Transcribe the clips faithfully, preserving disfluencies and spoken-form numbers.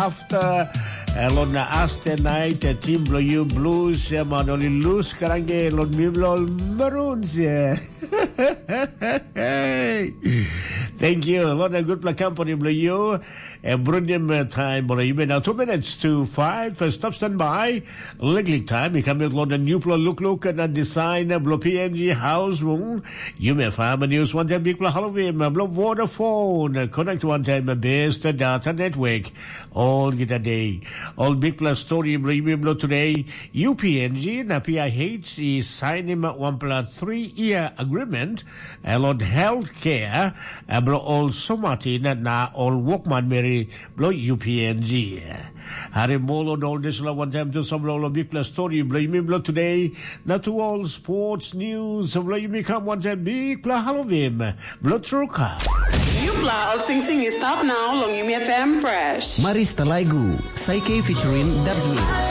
After, eh, long na aste night, eh, team bilong yu Blues, eh, man, oli lose krange long mi bilong Maroons, eh. Thank you. Long na gutpela company bilong yu, eh, brunim, eh, time bilong yu. Now two minutes to five, eh, stop standby. Liklik time, i kam long na nupela lukluk na design bilong P N G house wung. Yumi FM News wantaim bikpela Halloween bilong Vodafone. Connect wantaim best data network. All gita day. All bikpela story bilong yumi bilong today. U P N G na P I H i sainim wanpela three year agreement. Elon healthcare bilong ol somatin na ol wokman meri bilong U P N G. Harim ol on ol dispela wantaim tu sampela ol bikpela stori bilong yumi bilong today, na tu ol sports news bilong yumi kam wantaim bikpela Halloween bilong truka. Yupla ol singsing i stap nau long Yumi F M Fresh. Maris Talaigu, Saike featuring Dubs Wings.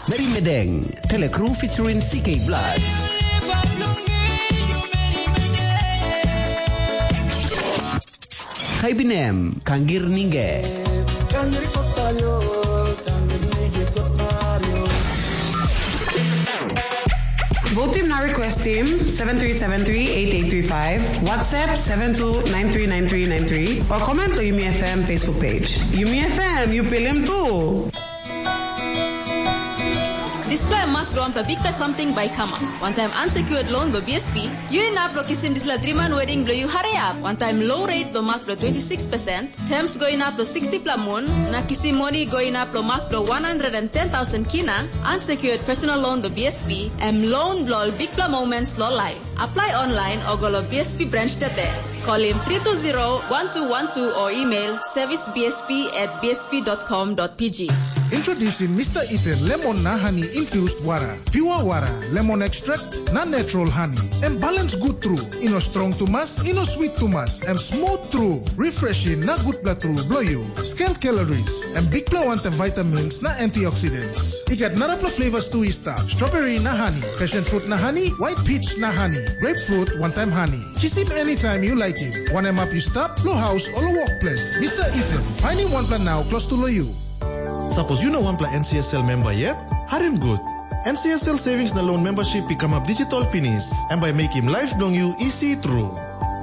Mary Medeng, Telekru featuring C K Bloods. Kaibinem, Kangir Ninge. Vote team na request team seven three seven three eight eight three five, WhatsApp seven two nine three nine three nine three, or comment to Yumi F M Facebook page. Yumi F M, you pilim too. Dispela em mak bilong wanpela bikpela samting bai i kamap. Wantaim unsecured loan bilong B S P, yu inap long kisim dispela driman wedding bilong yu hariap. Wantaim low rate bilong mak bilong twenty six percent, terms go inap long sixty pela mun, na kisim moni go inap long mak bilong one hundred and ten thousand kina, unsecured personal loan bilong B S P, em loan bilong ol bikpela moments long life. Apply online o go long B S P branch tete. Kolim three two zero one two one two o email service B S P at B S P dot com dot P G. Introducing Mister Ethan Lemon na Honey Infused Water. Pure water, lemon extract, na natural honey. Em balance good tru. I no strong tumas, i no sweet tumas. Em smooth tru, refreshing na gutpela tru bilong yu. Scale calories, em bikpela wantaim vitamins na antioxidants. I gat narapela flavors tu i stap. Strawberry na honey, passion fruit na honey, white peach na honey, grapefruit wantaim honey. Kisim anytime you like it. Wanem ap you stap, lo house o lo workplace. Mister Ethan, finding one plan now close to lo you. Sapos yu no wanpela N C S L member yet, harim gut. N C S L Savings na Loan Membership i kamap digital pinis, em bai mekim life bilong yu isi tru.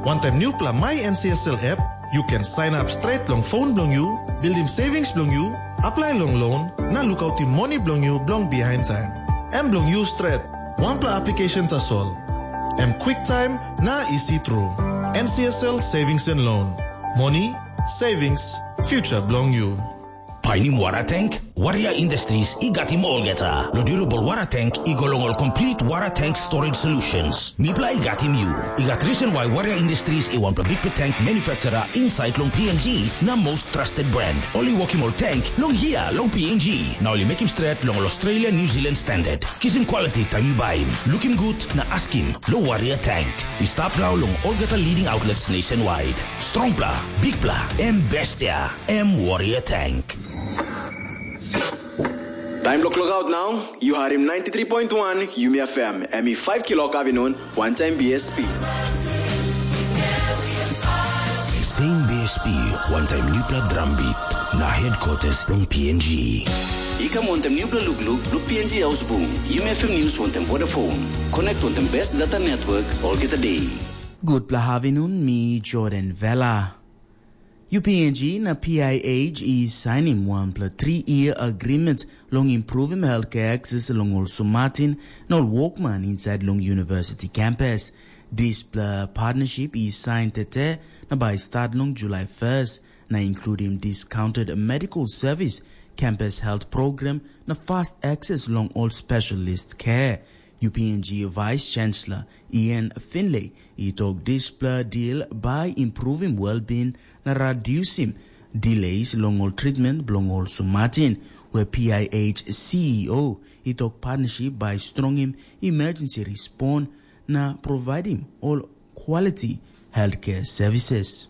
Wantaim newpela My N C S L app, you can sign up straight long phone bilong yu, buildim savings bilong yu, apply long loan, na lukautim moni bilong yu bilong behind time. Em bilong yu stret, wanpela application tasol. Em quick time na isi tru. N C S L Savings and Loan. Money, savings, future bilong yu. Painim wara tank? Warrior Industries i gatim olgeta. Lo durable wara tank i go long ol complete wara tank storage solutions. Mipela i gatim yu. I gat reason why Warrior Industries i wanpela bikpela tank manufacturer inside long P N G na most trusted brand. Ol i wokim ol tank long hia long P N G. Na ol i mekim stret long ol Australia New Zealand standard. Kisim quality taim yu baim. Lukim gut na askim lo Warrior Tank. I stap nau long olgeta leading outlets nationwide. Strongpela, bikpela, em bestia, em Warrior Tank. Taim bilong klokaut nau, yu harim ninety three point one Yumi F M, em i five kilok avinun, wantaim B S P. Same B S P, wantaim newpela drum beat, na headquarters long P N G. I kam wantaim newpela lukluk bilong P N G haus bung, Yumi F M News wantaim Vodafone. Connect wantaim best data network olgeta day. Gutpela avinun, mi Jordan Vela. U P N G na P I H i sainim wanpela three-year agreement long improvim healthcare access long ol sumatin na ol wokman inside long university campus. Dispela partnership i sain tete na bai start long July first, na includim discounted medical service, campus health program, na fast access long ol specialist care. U P N G Vice Chancellor Ian Finlay i tok dispela deal bai improvim well-being na redusim delays long ol treatment bilong ol sumatin, where P I H C E O i tok partnership bai strongim emergency response na providing all quality healthcare services.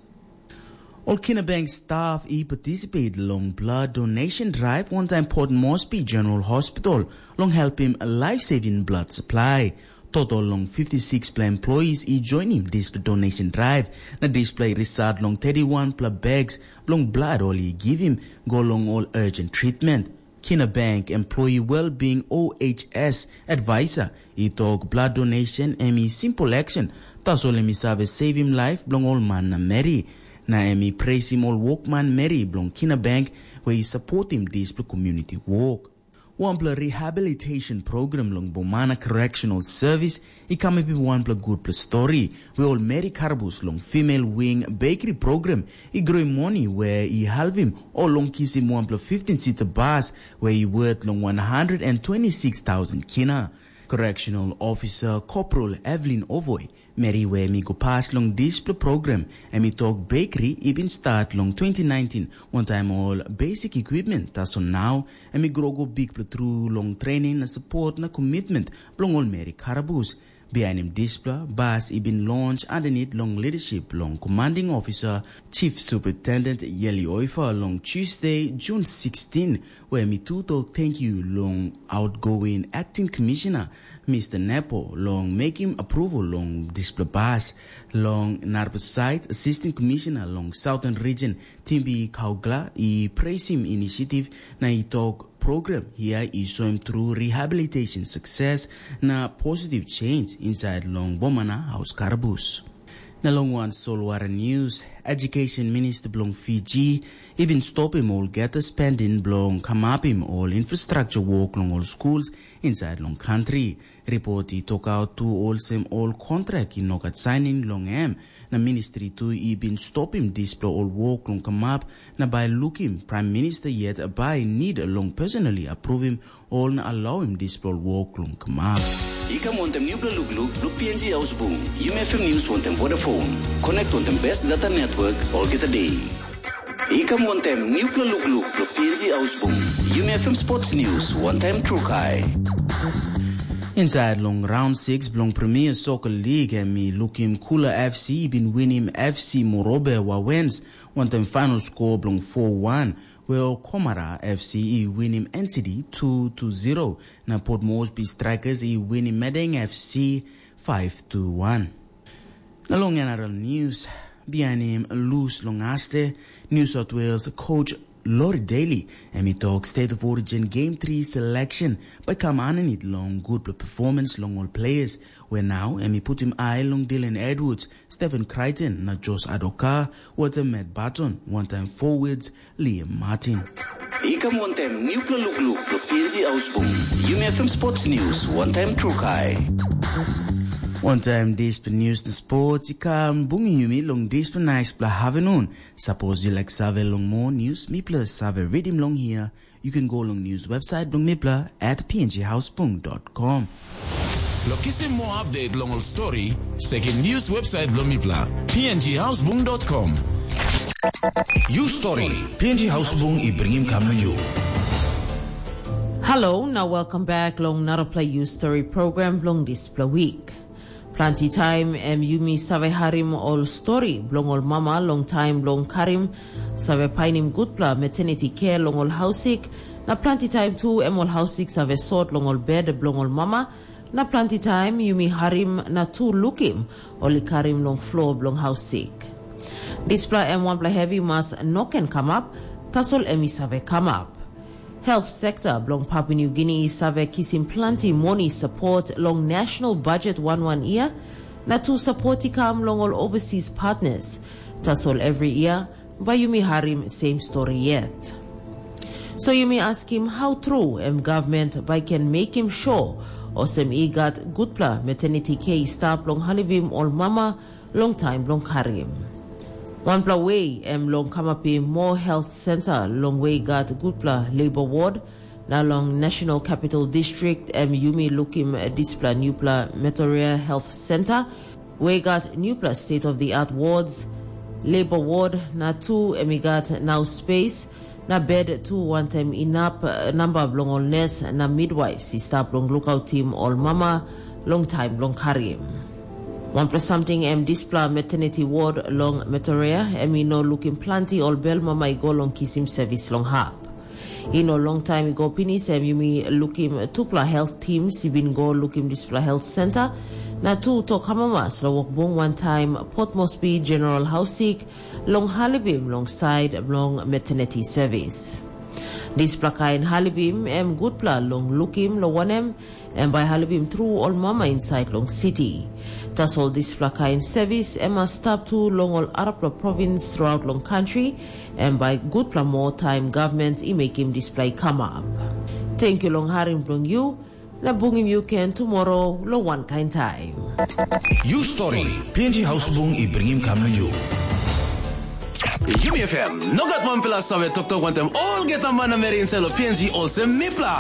Ol Kinabank staff i participate long blood donation drive wantaim Port Moresby General Hospital long helpim life-saving blood supply. Total long fifty-six pla employees i joinim dispela donation drive, na dispela i result long thirty-one pla bags bilong blood ol i givim go long ol urgent treatment. Kina Bank employee well-being O H S advisor i tok blood donation em i simple action, tasol em i save savim life bilong ol man na meri. Na em i presim ol wokman meri bilong Kina Bank we i supportim dispela community work. Wanpela rehabilitation program long Bomana Correctional Service i kamapim wanpela gutpela stori, we ol meri karabus long female wing bakery program i groim moni we i halvim o long kisim wanpela fifteen sita bas we i wet long one hundred and twenty-six thousand kina. Correctional Officer Corporal Evelyn Ovoi, meri we em i go pas long dispela program, em i tok bakery i bin start long twenty nineteen, wantaim ol basic equipment, tasol nau em i grow go bikpela tru long training na support na commitment bilong ol meri karabus. Bihainim dispela, bas i bin launch aninit long leadership long commanding officer Chief Superintendent Yeli Oifa long Tuesday, June sixteen, where mi tu tok thank you long outgoing acting commissioner Mr. Nepo long making approval long dispela bas. Long narapela side, assistant commissioner long Southern Region Timbi Kaugla i presim initiative na i tok program hia i soim tru rehabilitation success na positive change inside long Bomana House Karabus. Na long wan solwara news, Education Minister bilong Fiji i bin stopim olgeta spending bilong kamapim ol infrastructure work long ol schools inside long country. Report i tokaut tu olsem ol kontrak i no gat signing long em, na ministri tu i bin stopim dispela ol wok long kamap, na bai lukim Prime Minister yet bai nid long personally approvim ol na alauim dispela ol wok long kamap. I kam wantem nupela lukluk bilong P N G Ausbung, Yumi F M News wantem Vodafone. Connect wantem best data network olgeta day. I kam wantem nupela lukluk bilong P N G Ausbung, Yumi F M Sports News wantem Trukai. Inside long round six bilong Premier Soccer League, em i lukim Kula F C i bin winim F C Morobe Wawens wantem final score bilong four one, while Komara F C i winim N C D two to zero, na Port Moresby Strikers i winim Madang F C five to one. Na long N R L News, bihainim lus long Aste, New South Wales coach Lori Daly, em i tok State of Origin Game three selection bai kam aninit long gutpela performance long ol players, where nau em i putim ai long Dylan Edwards, Stephen Crichton na Josh Adoka, wantem Matt Barton, wantaim forwards Liam Martin. I kam wantem nupela lukluk bilong P N G Ausbung, Yumi F M Sports News wantem Trukai. Wantaim dispela news na sports i kam bungim yumi long dispela naispela havinun. Sapos yu laik save long moa news mipela save ritim long hia, yu ken go long news website bilong mipela at pnghausbung.com. Long kisim moa update long ol stori, sekim news website bilong mipela, pnghausbung.com. You story, P N G Hausbung i bringim kam na you. Hello, now welcome back long narapela You Story program bilong dispela week. Planti taim em yumi save harim ol stori bilong ol mama long taim bilong karim, save painim gutpela maternity care long ol hausik, na planti taim tu em ol hausik save sot long ol bed bilong ol mama, na planti taim yumi harim na tu lukim ol i karim long flo bilong hausik. Dispela em wanpela hevi mas no ken kamap, tasol em i save kamap. Health sekta bilong Papua New Guinea i save kisim planti moni sapot long national budget wan wan yia, na tu sapot i kam long ol overseas partners. Tasol every year, bai yumi harim same story yet. So yumi askim how true em government bai ken mekim sure olsem i gat gutpela maternity care i stap long helpim ol mama long taim bilong karim. Wanpela we em long kamapim moa health center long we i gat gutpela labor ward, na long National Capital District em yumi lukim dispela nupela Metoria Health Center, we i gat nupela state of the art wards, labor ward, na tu em i gat nau space, na bed tu wantaim inap, eh, namba bilong ol nes na midwaifs i stap long lukautim ol mama long taim bilong karim. Wanpela samting em dispela maternity ward long Metoria em i no lukim planti ol bel mama i go long kisim sevis long hap. I no long taim i go pinis em yumi lukim tupela health teams i bin go lukim dispela health center, na tu tok amamas long wokbung wantaim Port Moresby General Hausik long halivim long sait bilong maternity service. Dispela kain halivim em gutpela long lukim, long wanem, em bai halivim tru ol mama insait long siti. Tasol dispela kain sevis em mas stap tu long ol arapela provins thruaut long kantri, em bai gutpela moa taim gavman i mekim dispela i kamap. Tenkyu long harim bilong yu, na bungim yu ken tumora long wankain taim. Yu stori, P N G Hausbung i bringim kam long yu. Yumi F M, no gat wanpela save toktok wantaim olgeta manameri insait long P N G olsem mipela.